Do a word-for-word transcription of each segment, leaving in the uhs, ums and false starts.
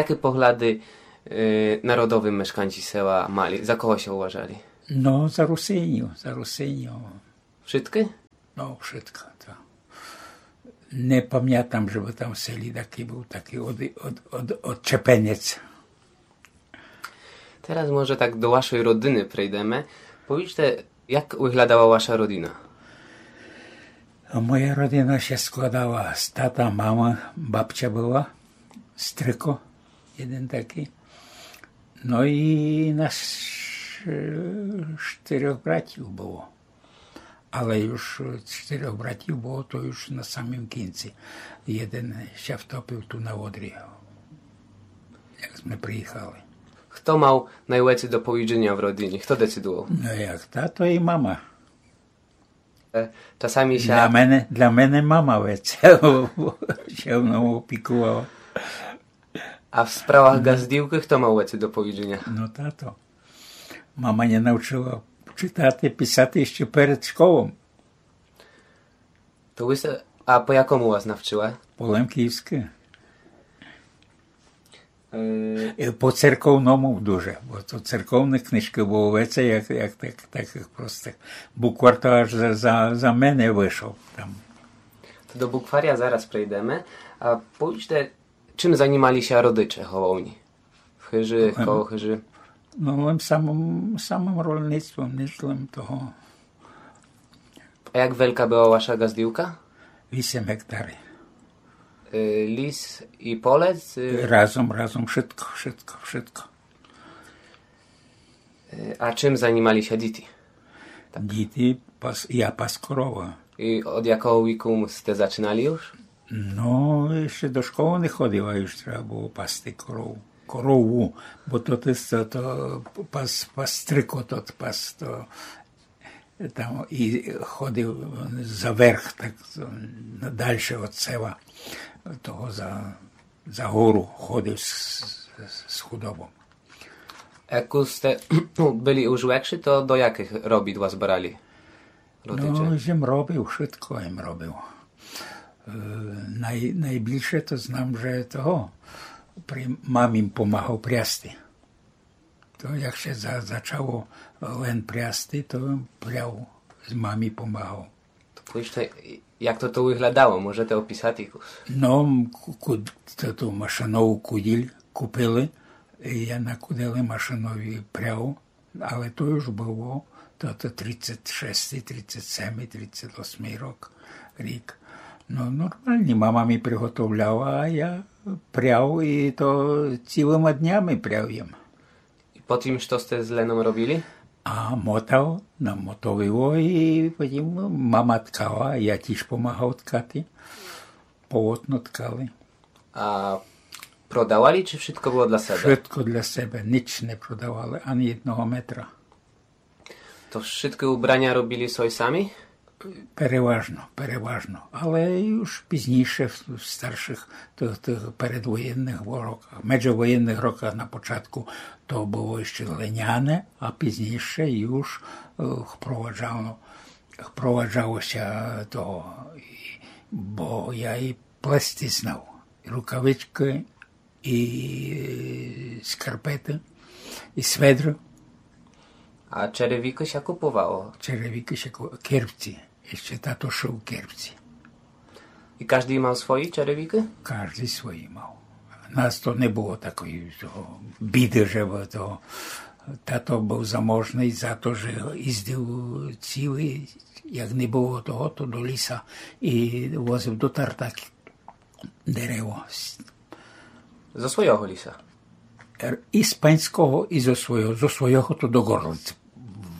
Jaké poglady, e, narodowe mieszkańcy sela mieli? Za kogo sie uważali? Но, за Русинів, за Русинів. Wszytchy? Но, вшытко, то. Не памятам, жебы там в селі такій быв такій од-, од-, од-, одчепенець. Тераз може так до вашой родины прийдеме. Повіджте, як выглядала ваша родина? А моя родина ся складала з тата, мама, бабця была, стрыко єден такій. Но і нас, е, штырьох братів было. Але юж, е, штырьох братів было, то юж на самім кінці. Єден ся втопив ту на Одрі, як сме приіхали. Хто мал найвеце до повідженя в родині? Хто децидувал? Но як, тато і мама. Е, часами ся... Для мене, для мене мама веце ся мнов опікувала. А в справах ґаздівкы хто мал веце до повідженя? Но тато. Мама ня навчыла читати, писати іщы перед школом. То вы ся, а по якому вас навчыла? По лемківскы. Е, по церковному дуже, бо то церковных книжкы было веце, як, як так, такых простых. Буквар то аж за, за, за мене вышов там. То до букваря зараз прийдеме. А повіджте, чим занімали ся родиче головні? В хыжы, коло хыжы? Но, лем самым, самым рольництвом, ніч лем того. А як велика была ваша ґаздівка? Вісем гектарів. Е, ліс і поле? Е, разом, разом, вшытко, вшытко, вшытко. Е, а чим занімали ся діти? Діти, пас-, я пас коровы. І од якого віку сте зачынали юж? Но, іщы до школы не ходив, а юж треба было пасти корову. Корову, бо то, то, то, то пас, пас стрыко, то пас, то там і ходив за верх, так, на дальше од села, того за, за гору ходив з, з, з худобом. Як сте были уж векшы, то до якых робіт вас брали родиче? Но, єм робив, вшытко єм робив. Е, най-, найбільше то знам, же того, при мамі помагав прясти. То як ся за-, зачало лем прясти, то пряв, з мамі помагав. То повіджте, як то, то выглядало, можете описати? Но, ку-, ку-, то, ту машинову куділь купили, і я на кудели машинові пряв, але то юж было, то, то тридцять шестый, тридцять семый, тридцять восьмый рок, рік. Но, нормалні, мама мі приготовляла, а я пряв, і то цілыма днями пряв єм. І потім што сте з леном робили? А мотав, намотовило, і потім мама ткала, я тіж помагав ткати. Полотно ткали. А продавали, чи вшытко было для себе? Вшытко для себе, ніч не продавали, ані єдного метра. То вшыткы убраня робили сой самі? Переважно, переважно. Але юж пізнійше в, в старшых, тых, тых передвоєнных роках, меджевоєнных роках на початку то было іщы льняне, а пізнійше юж, е, впроваджало, впроваджало ся то, і, бо я і плести знав. І рукавичкы, і скарпеты, і сведр. А черевікы ся купувало? Черевікы ся ку-, керпці. Іщы тато шыв керпці. І каждый мал свої черевікы? Каждый свої мал. У нас то не было такої того біды, же бы того. Тато быв заможный за то, же їздив цілый, як не было того, то до ліса і возив до Тартаків дерево. Зо свойого ліса? Р-, і з панського, і зо свойого. Зо свойого то до Горлиць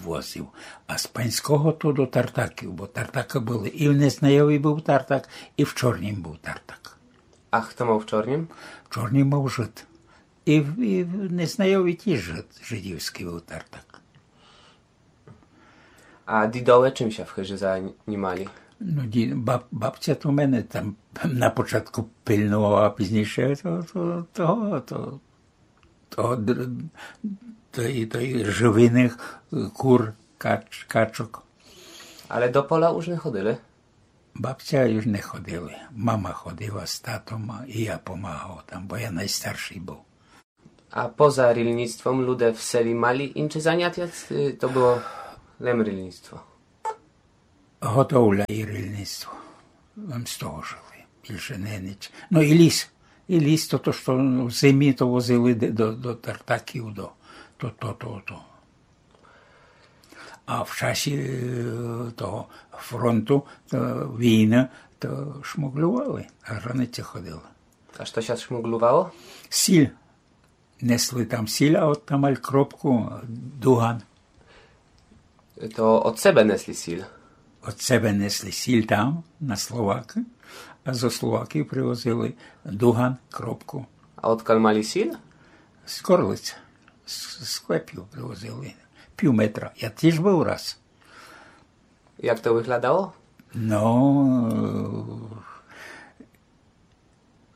возив, а з панського то до Тартаків, бо Тартакы были. І в Незнайові быв Тартак, і в Чорнім быв Тартак. А хто мав в Чорнім? В Чорнім мав жид. І в, і в Незнайові тіж жид, жидівськый быв Тартак. А дідове чим ся в хыжы занімали? Но, ді-, баб-, бабця то мене там на початку пильновала, а пізнійше то, то, то, то, то, др-, то і, то і живиных, кур, кач-, качок. Але до поля уж не ходили? Бабця уж не ходили. Мама ходила з татом, а і я помагав там, бо я найстаршый быв. А поза рильництвом люде в селі мали инчы занятя, ци то было лем рильництво? Готовля и рильництво. Лем з того жыли. Більше не нич. Но и ліс. И ліс, то, то, што в зимі то возили де-, до, до Тартаків, до, то, то, то, то. А в часі, е, того фронту, то війны, то шмуґлювали, на границю ходили. А што ся шмуґлювало? Сіль. Несли там сіль, а от там аль кропку, дуган. То од себе несли сіль? Од себе несли сіль там, на Словакы, а зо Словаків привозили дуган, кропку. А одкаль мали сіль? З Корлиц. З, з склепів привозили. Пів метра. Я тіж быв раз. Як то выглядало? Но,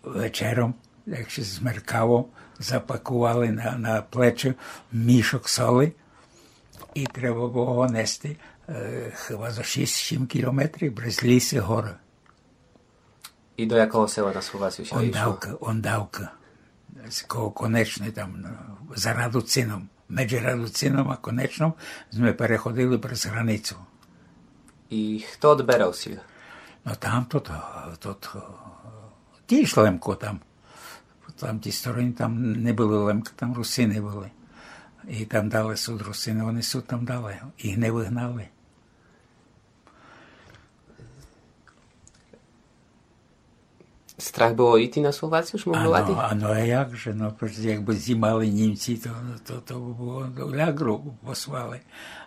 вечером, як ся змеркало, запакували на, на плечы мішок соли и треба было го нести, е, хыба зо шіст-сім кілометрів през лісы горы. И до якого села на Словацию ся ишло? Ондавка, Ондавка. З ко-, Конечной там, но, за Радуцином. Меджи Радуцином а Конечном зме переходили през границу. И хто одберал сіль? Но там то, то, то, то, тіж Лемко там. Там ті стороны, там не были Лемкы, там Русины были. И там дале сут Русины, они сут там дале. Их не выгнали. Страх было іти на Словацию, шмуґлювати? Ано, ано, а як же, но, прецеж якбы зімали Німці, то, то, то бы было до лягру послали.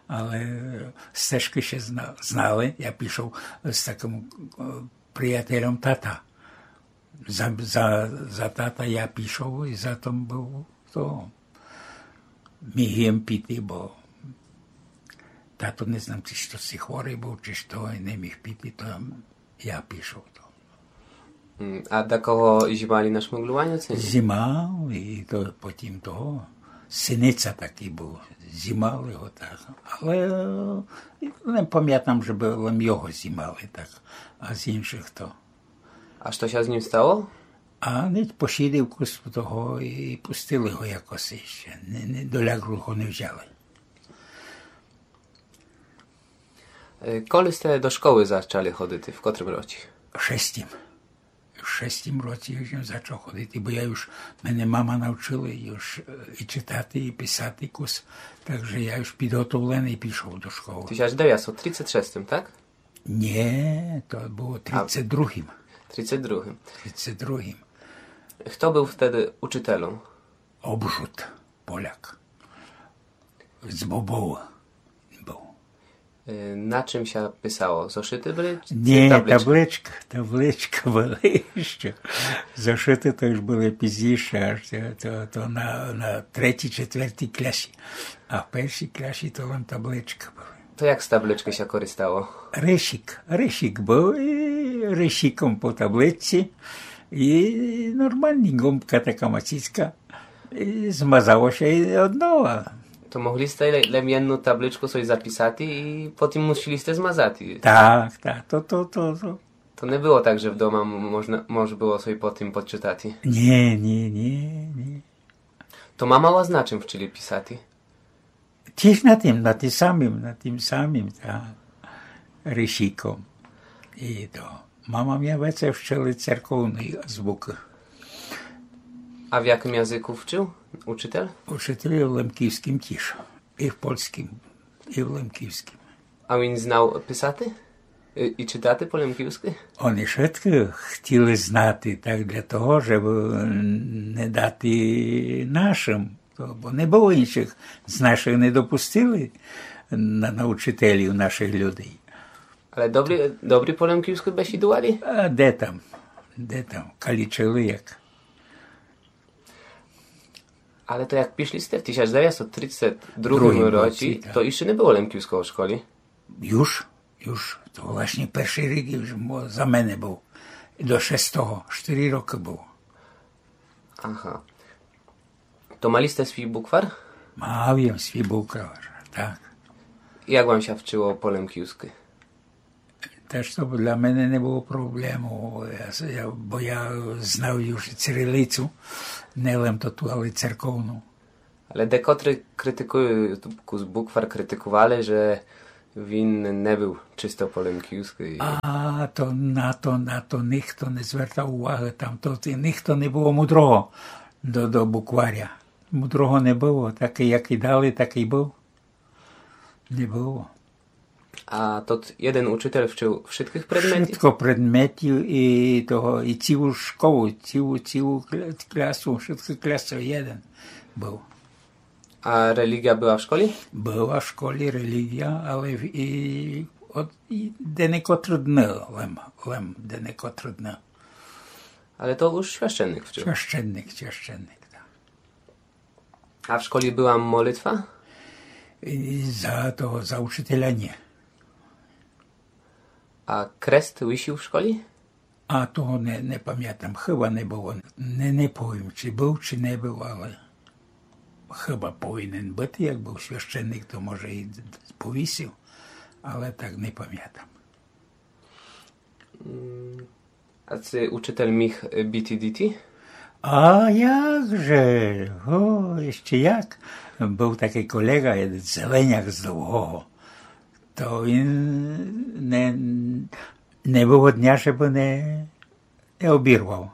Але стежкы ся зна-, знали. Я пішов з такым, е, приятельом тата. За, за, за тата я пішов и за тым быв то. Міг єм піти, бо тато, не знам, ци што, ци хворый быв, ци што, и не міг піти, то я пішов то. М, а дакого зімали на шмуґлюваню, ци ні? Зімали, и то потім того. Синица такый быв. Зімали го так. Але, е, не памятам, же бы лем його зімали так, а з іншых то. А што ся з ним стало? А нич, посідив кус того и пустили го якоси іщы. Не, не, до лягру го не взяли. Е, коли сте до школы зачали ходити? В котрым році? В шестім. В шестім році уж єм зачав ходити, бо я уж, мене мама навчила уж, е, и читати, и писати кус. Так же я уж підготовленый пішов до школы. Тисяч девятсот тридцет шестым, так? Нє, то было тридцет другым. Тридцет другым. Тридцет другым. Хто быв втеды учытелем? Обжут, Поляк. З Бобова быв. Е, на чым ся писало? Зошыты были, ци табличкы? Нє, табличкы, табличкы были іщы. Зошыты то уж были пізнійше, аж то, то, то на, на третій, четвертій клясі. А в першій клясі то лем табличкы были. То як з табличкы ся користало? Ришик, ришик быв, и ришиком по табличці, и нормалні ґумкы, така маціцька, и змазало ся и однова. То могли сте ле-, лем єдну табличку собі записати и потім мусили сте змазати. Так, так, то, то, то, то. То не было так, же вдома м-, можна, мож было собі потім почытати? Нє, нє, нє, нє. То мама вас на чым вчыли писати? Тіж на тым, на тым самым, на тым самым, та, ришиком. И то. Мама мя веце вчыла церковной азвукы. А в якым языку вчыв учытель? Учытель в лемківскім тіж. И в польскім, и в лемківскім. А він знав писати? И, и чытати по лемківскы? Они шыткы хтіли знати, так для того, жебы не дати нашым. То, бо не было іншых, з нашых не допустили на, на учытелів нашых людей. Але добрі, добрі по лемківскы бесідували? А де там, де там, калічыли як. Але то як пішли сте в тисяч девятсот тридцет другым році, так, то іщы не было лемківского в школі? Юж, юж. То власні першый рік юж мо-, за мене быв. До шестого, штыри рокы быв. Ага. То мали сте свій буквар? Мав єм свій буквар, так. Як вам ся вчыло по лемківскы? Теж то для мене не было проблему, я, я, бо я знав уж и цирилицу, не лем тоту, але церковну. Але декотры критикуют, кус буквар критикували, же він не был чисто по лемківскы. А то на то, на то нихто не звертав увагы, там то, то нихто не было мудрого до, до букваря. Мудрого не было, такый, якый дали, такый был. Не было. А тот єден учитель вчыв вшыткых предметів? Вшытко предметів и того, и цілу школу, цілу, цілу кля-, клясу, вшыткы клясы єден был. А релігія была в школі? Была в школі релігія, але в-, и од-, и денекотры дны, лем, лем денекотры дны. Але то уж священник вчыв? Священник, священник, так. А в школі была молитва? И за того, за учителя не. А крест висів в школі? А того не, не памятам, хыба не было. Не, не повім, чи был, чи не был, але хыба повинен быти, як был священник, то може и повісив, але так не памятам. М, а ци учитель міг, е, біти діти? А як же? О, іщы як. Был такый колеґа, єден зеленяк з Довгого. То він не, не было дня, жебы не, не обірвав.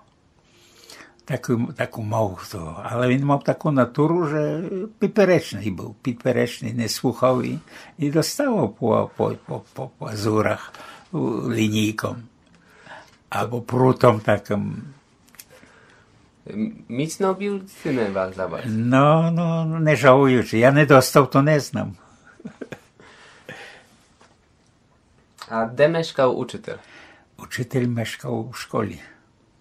Таку, таку мав хто. Але він мав таку натуру, же підперечный был, підперечный, не слухав и, и доставав по, по, по, по пазурах, у, лінійком. Або прутом такым. М-, міцно біл ци не ва-, за вас? Но, но, не жалуючы. Я не достав, то не знам. А де мешкал учитель? Учитель мешкал у школі.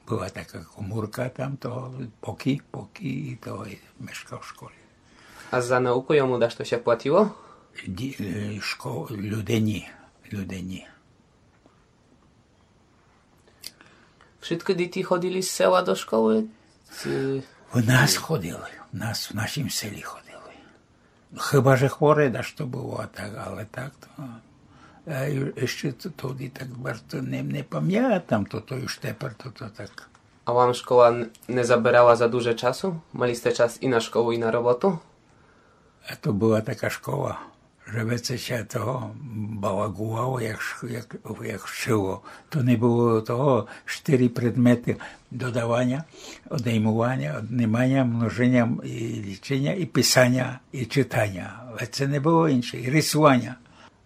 Была така комурка там, то покій, покій, и то мешкал у школі. А за науку йому дашто ся платило? Ді-, е, шко-, люде ні, люде ні. Вшыткы діти ходили з села до школы? Ци... В нас ходили, в нас, в нашім селі ходили. Хыба же хворе дашто было, а так, але так то. А і-, іщы то, тоді так барз не, не памятам, то, то уж тепер, то, то так. А вам школа н-, не заберала за дуже часу? Мали сте час и на школу, и на роботу? А то была така школа, же веце ся того балагувало, як ш-, як, як вчыло. То не было того, штыри предметы: додаваня, одеймуваня, одниманя, множыня и лічыня, и писаня, и чытаня. Веце не было інше, и рисуваня.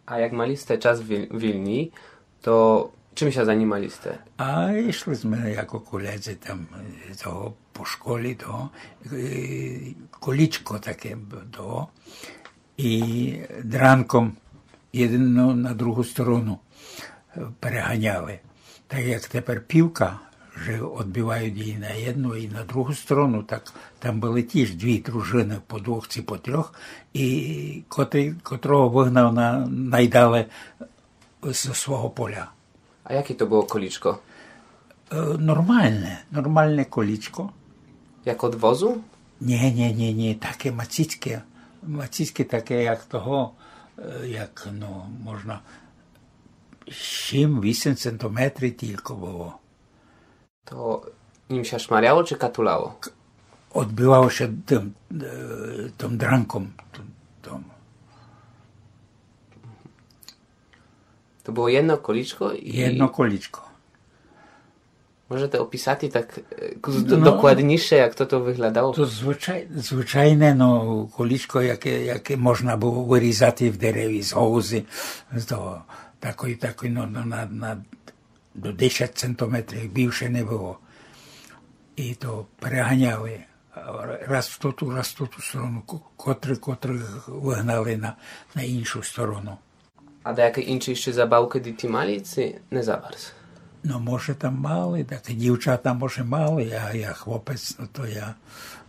А як мали сте час віль-, вільный, то чым ся занімали сте? А ішли сме яко колеґы там, е, того по школі, того, е, колічко таке б-, того, и дранком єдну на другу сторону, е, переганяли. Так як тепер півка, же одбивають и на єдну, и на другу сторону, так там были тіж дві дружыны по двох ци по трьох, и котрый, котрого выгнав на, найдале зо свого поля. А яке то было колічко? Е, нормалне, нормалне колічко. Як од возу? Ні, ні, ні, ні, таке маціцьке. Маціцьке таке, як того, е, як, ну, можна, сім-вісім сантиметрів тілько было. То нім ся шмаряло чи катуляло? К-, одбивало ся тым, е, тым дранком, тым, тым. То было єдно колічко и... Єдно колічко. Можете описати так, е, кус д-, докладнійше, як тото выглядало? То звычай-, звычайне, но, колічко, яке, яке можна было вырізати в дереві з галузі, з того, такой, такой, но, но, на, на до десять сантиметрів, більше не было. И то переганяли, а, раз в тоту, раз в тоту сторону, ко-, котры, котрых выгнали на, на іншу сторону. А даякы інші іщы забавкы діти мали, ци не за барз? Но, може, там мали, так дівчата, може, мали, а я хлопець, но то я,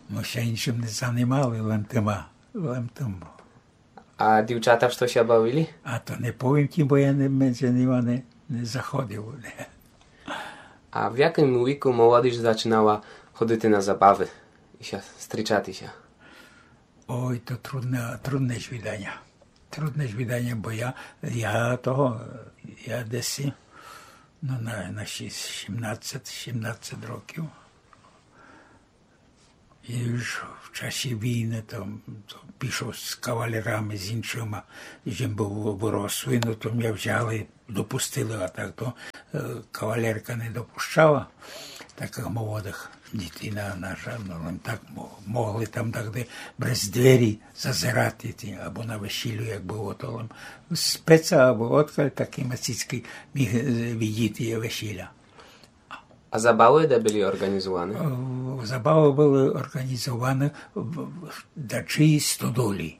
мы ся іншым не занимали, лем тыма, лем тым. А дівчата што ся бавили? А то не повім ти, бо я не, медзи нима не, не заходив. А в якым віку молодіж зачинала ходити на забавы и ся стрічати ся? Ой, то трудне, трудне звіданя. Трудне звіданя, бо я, я того, я десь Но, на, на шіс-, сімнадцет, сімнадцет років. І уж в часі війны то, то пішов з кавалерами, з іншыма, з чим быв вырослый, но то мя взяли, допустили, а так то, е, кавалерка не допущала такых молодых дітей на, на жаль, но лем так мо-, могли там так де през двері зазерати, ті, або на весілю, як было, то лем з пеца, або одкаль такы мацицькы міг, е, видіти весіля. А забавы де были орґанізуваны? Е, забавы были орґанізуваны в, в дачій стодолі.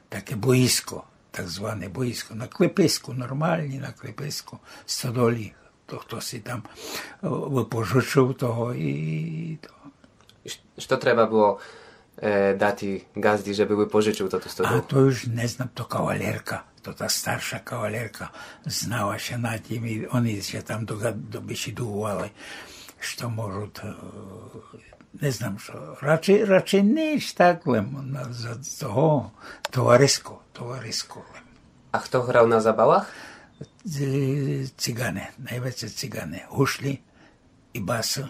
Таке боїско, так зване боїско. На клеписку, нормалні на клеписку, стодолі. То хтоси там, е, выпожычыв того і то. Ш-, што треба было, е, дати ґазді, жебы выпожычыв тоту стодолу? А то уж не знам, то кавалерка, то та старша кавалерка знала ся на тім, і они ся там дога-, добесідували, што можуть, е, не знам, што, радше, радше ніч так, лем на, за того, товариско, товариско лем. А хто грав на забавах? Ц-, цигане, найвеце цигане, гушлі і басы.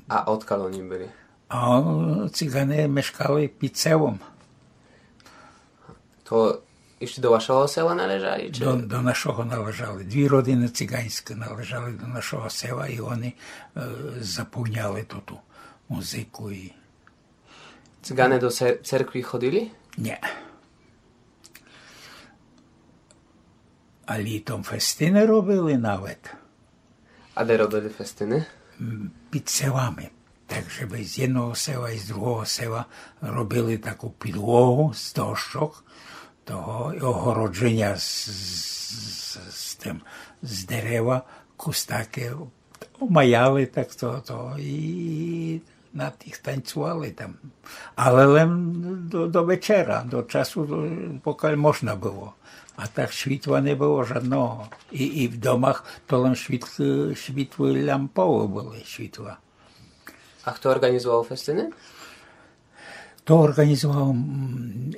А одкаль они были? А цигане мешкали під селом. То іщы до вашого села належали, чи? До, до нашого належали. Дві родины циганьскы належали до нашого села і они, е, заповняли ту, ту музыку і... Цигане до цер-, церкви ходили? Ні. А літом фестины робили навет. А де робили фестины? М, під селами. Так, жебы з єдного села і з другого села робили таку підлогу з дощок, того, і огороджыня з, з, з тым, з дерева, кус таке, омаяли так то, то, і на тых танцювали там. Але лем до, до вечера, до часу, до, покаль можна было. А так світла не было жадного. І, і в домах то лем світ-, світлы лямповы были, світла. А хто орґанізував фестины? То орґанізував, м,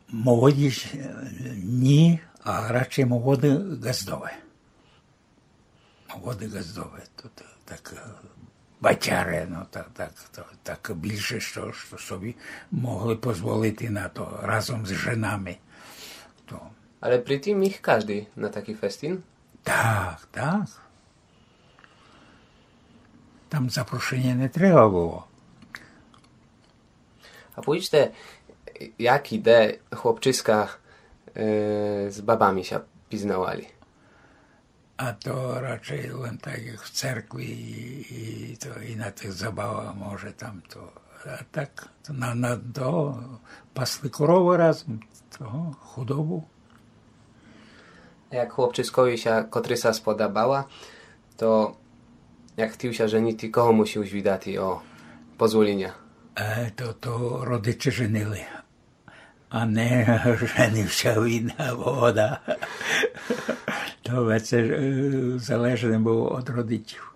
молодіж, е, ні, а радше молоды ґаздове. Молоды ґаздове, то, то так, е, бачаре, но, так, так, то, так більше, што, што собі могли позволити на то разом з женами. То. Але при тым міг каждый на такій фестин? Так, так. Там запрошыня не треба было. А повічте, як і де хлопчиска, е, з бабами ся пізнавали? А то радше лем так, як в церкви і, і то, і на тых забавах може там то. А так, то на, на то пасли коровы разом, того, худобу. Як хлопчискові ся котриса сподобала, то як хтів ся женити, кого мусів звідати о позволіня? Е, то, то родиче женили. А не женив ся він або она. То веце, е, залежне было од родичів.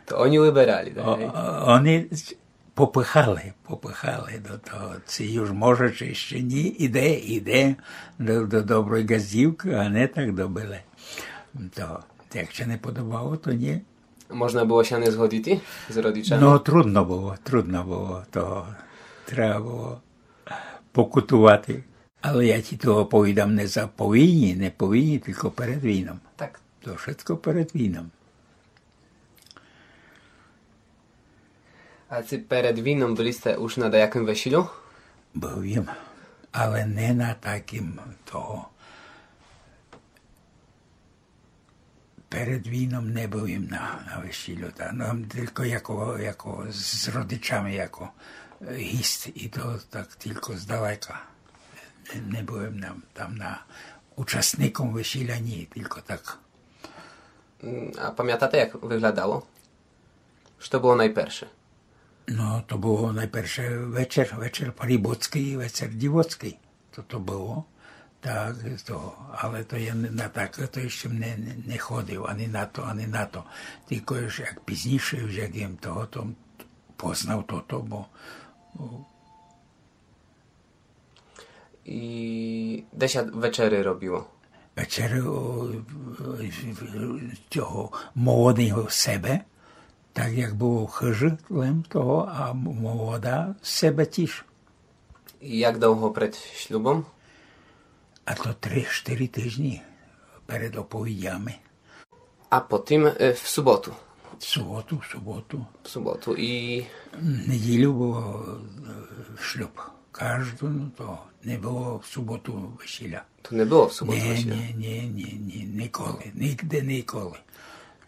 То они выберали, так? О, гей? Они попыхали, попыхали до того, ци уж може, ци іщи ні, іде, іде до, до доброй ґаздівкы, а не так добыле. То, як ся не подобало, то ні. Можна было ся не згодити з родичами? Но, трудно было, трудно было, то треба было покутувати. Але я ті то оповідам не за, по війні, не по війні, тілько перед війном. Так. То вшытко перед війном. А ци перед війном были сте уж на даякым весілю? Быв єм, але не на такым того. Перед війном не быв єм на, на весілю, та, но, тілько яко, яко з родичами, яко, е, гіст, і то так тілько здалека. Не, не быв єм на, там на учасником весіля, ні, тілько так. М, а памятате, як выглядало? Што было найперше? Но, то было найперше вечер, вечер парубоцкый і вечер дівоцкый. То, то было. Так, то, але то я не, на таке то іщи не, не, не ходив, ані на то, ані на то. Тілько уж як пізніше, уж як єм того, то познав тото, бо, о, І де ся вечеры робило? Вечеру, о, цього молодого себе, так як было в хыжи, лем того, а молода себе тіж. І як довго перед шлюбом? А то три-штыри тыжні перед оповідями. А потім е, в суботу. В суботу, в суботу. В суботу і В неділю было е, шлюб. Кажду, ну, то не было в суботу весіля. То не было в суботу Ні, весіля? Ні, ні, ні, ні, ніколи. Нігде ніколи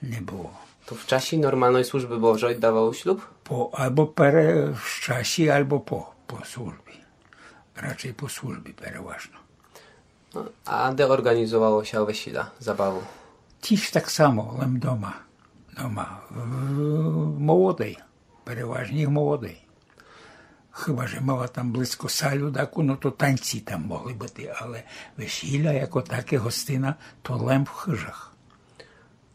не было. То в часі нормалної служби Божої давали шлюб? По, або пере, в часі, або по, по службі. Радше по службі переважно. А де організовало ся весіля, забаву? Тіж так само, лем дома. Дома. В, в молодой. Переважні в молодой. Хыба же мала там близько салю таку, ну то танці там могли быти, але весіля яко таке гостина, то лем в хыжах.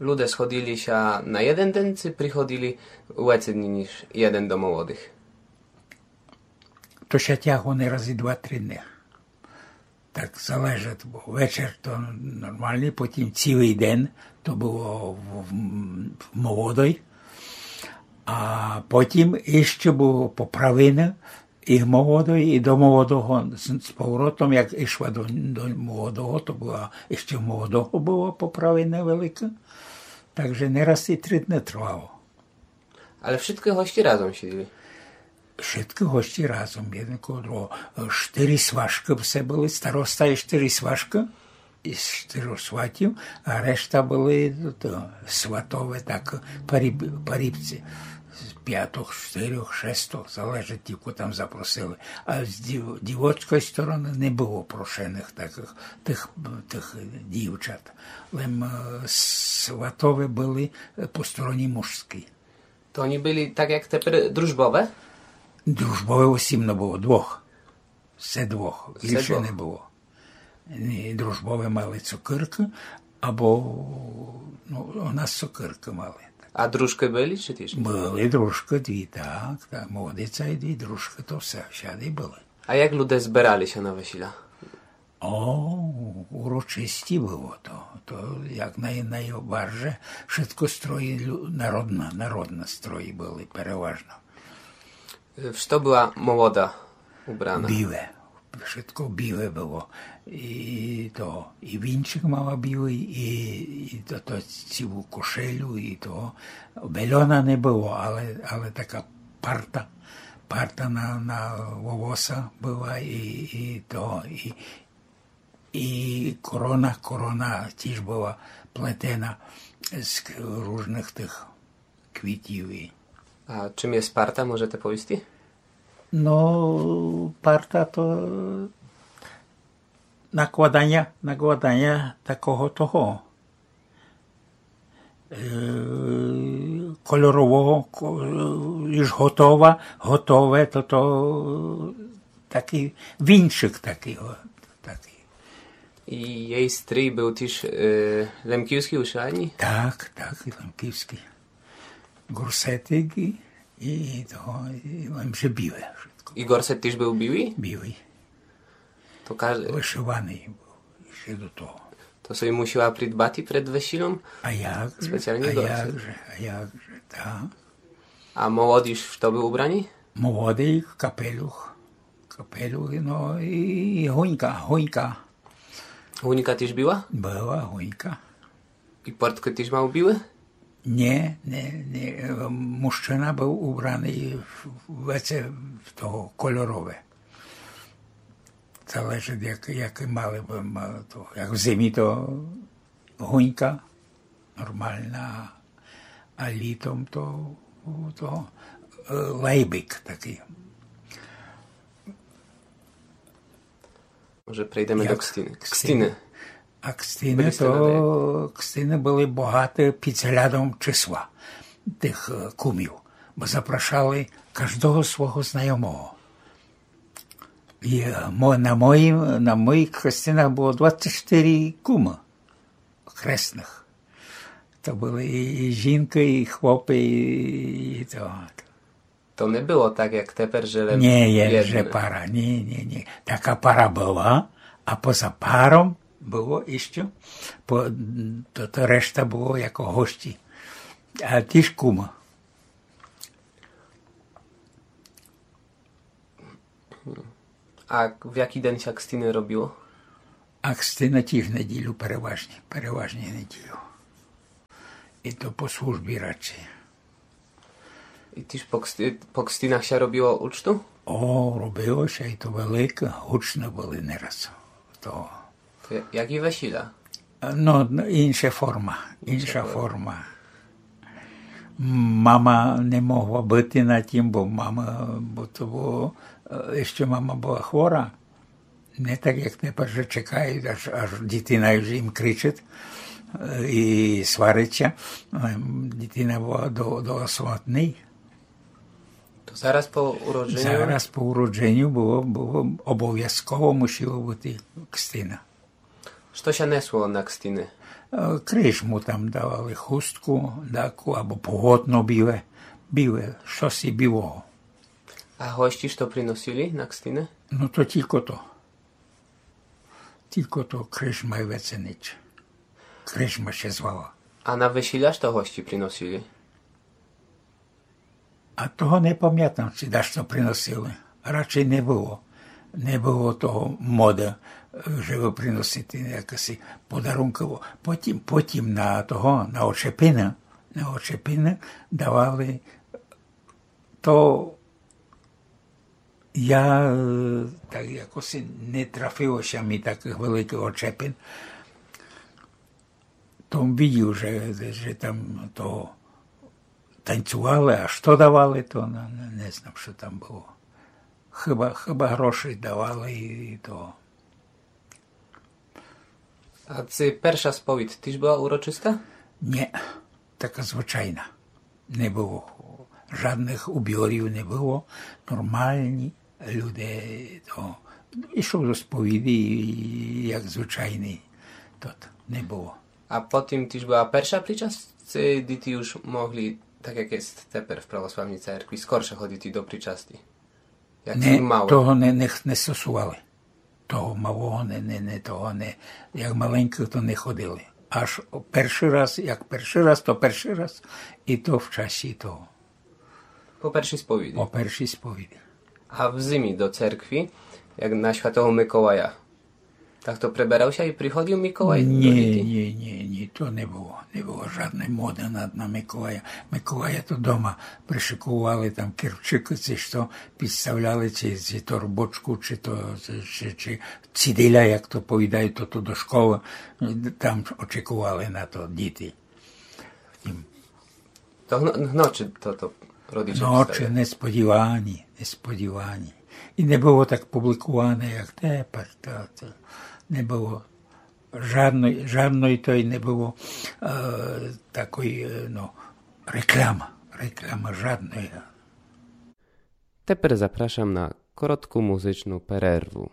Люде сходили ся на єден ден, ци приходили веце дні, ніж єден до молодых? То ся тягло не раз і два-три дни. Так залежить, бо вечер то нормалный, потім цілый ден то было в, в, в молодой, а потім іщы было поправины і в молодой, і до молодого з, з поворотом, як ішла до, до молодого, то была, іщы в молодого было поправины велике, так же не раз і три дни тривало. Але вшыткы гості разом сиділи? Вшыткы гості разом, єден коло другого. Штыри сважкы все были, староста і штыри сважкы, і штыри сватів, а решта были то, сватове, так, паріб, парібці. З пятох, штырьох, шестох, залежить, кілько там запросили. А з дів, дівоцькой стороны не было прошеных такых, тых, тых дівчат. Лем е, сватове были е, по стороні мужській. То они были так, як тепер, дружбове? Дружбове осібно было, двох. Все двох, більше не было. І дружбове мали цукеркы, або, ну, у нас цукеркы мали. А дружкы были, ци тіж? Были дружкы дві, так, так, молодиця і дві дружкы, то все, всяды были. А як люде збирали ся на весіля? О, урочисті было то. То як най, найбарже, вшытко строї лю- народна, народна строї были переважно. Што была молода убрана? Біле. Вшытко біле было. І то, і вінчик мала білый, і, і то, то цілу кошелю, і то. Бельона не было, але, але така парта, парта на, на волоса была, і, і то, і, і корона, корона тіж была плетена з к- ружных тых квітів. І... А чим є парта, можете повісти? Ну, парта то накладаня, накладаня такого того. Е, кольорового, ко- е, уж готова, готове, то, то такый вінчик такый, о, такый. І єй стрій быв тіж е, лемківськый, ушиваный? Так, так, і лемківськый. Горсетик і, і того, і лем же біле вшытко. І горсет тіж быв білый? Білый. То каждый... Вышиваный быв іщы до того. То собі мусила придбати перед весілом? А як же? Спеціалный А горсет. Як же? А як же? Так. А молоді што были убрані? Молодый капелюх. Капелюх, ну і, і гунька, гунька. Гунька тіж была? Была гунька. І порткы тіж мав білы? Ні, ні, ні. Мужчына быв убраный в, в, в того кольорове. Залежить, як, як мали бы, мали то. Як в зимі то гунька нормална, а літом то, то е, лайбик такый. Може, прийдеме до кстины. Кстины. А кстины то, кстины были богаты під взглядом числа тых е, кумів, бо запрошали каждого свого знайомого. І е, мо- на моїм, на моїх хрестинах было двадцять чотири кумы хресных. То были і, і жінкы, і хлопы, і, і то. То не было так, як тепер, же лем Ні, є єдне. Же пара, ні, ні, ні. Така пара была, а поза паром Было іщы, по, то, то решта было яко гості. А тіж кумы. А в якій ден ся кстины робило? А кстины тіж в неділю переважні, переважні в неділю. І то по службі радше. І тіж по ксти-, по кстинах ся робило учту? О, робило ся, і то велике, гучны были нераз. То То я-, як і весіля? Но, но, інша форма, інша форма. Мама не могла быти на тім, бо мама, бо то было, е, іщы мама была хвора. Не так, як тепер, же чекают, аж, аж дітина уж їм кричыт, е, і сварит ся. Е, дітина была до, до самотный. То зараз по уродженю? Зараз по уродженю было, было обовязково мусіло быти кстина. Што ся несло на кстины? Е, крижму там давали, хустку, даку, або поготно біле, біле, штоси білого. А гості што приносили на кстины? Но то тілько то. Тілько то, крижма і веце нич. Крижма ся звала. А на весіля што гості приносили? А того не памятам, ци дашто приносили. Радше не было. Не было того моды, е, жебы приносити якыси подарункы. Потім, потім на того, на очепины, на очепины давали то я, е, так якоси не трафило ся мі такых великых очепин. То видів, же, же там то танцювали, а што давали, то не, не, не знам, што там было. Хыба, хыба гроші давали і то. А ци перша сповідь тіж была урочыста? Нє, така звычайна. Не было. Жадных уборів не было. Нормалні люде, то, ішов до сповіді, як звычайный. Тот, не было. А потім тіж была перша причасць, ци діти уж могли, так як єст тепер в православній церкви, скорше ходити до причасти? Як малы. Того не, не, не стосували. Того малого не, не, не, того не. Як маленькых, то не ходили. Аж першый раз, як першый раз, то першый раз, і то в часі того. По першій сповіді? По першій сповіді. А в зимі до церкви, як на Святого Миколая, так то преберав ся і приходив Миколай до діти? Нє, нє, нє, нє, то не было. Не было жадной моды на, на Миколая. Миколая то дома пришыковували, там керчыкы, ци што, підставляли, ци, ци торбочку, ци то, ци, ци, ци цидиля, як то повідают, то, то до школы, там очекували на то діти. Втім. То гно-, гночы то, то родиче... Гночы, несподівані, несподівані. І не было так публикуване, як тепер, то, то не было жадной, жадной той не было, е, такой, е, но, реклама, реклама жадной. Тепер запрашам на коротку музичну перерву.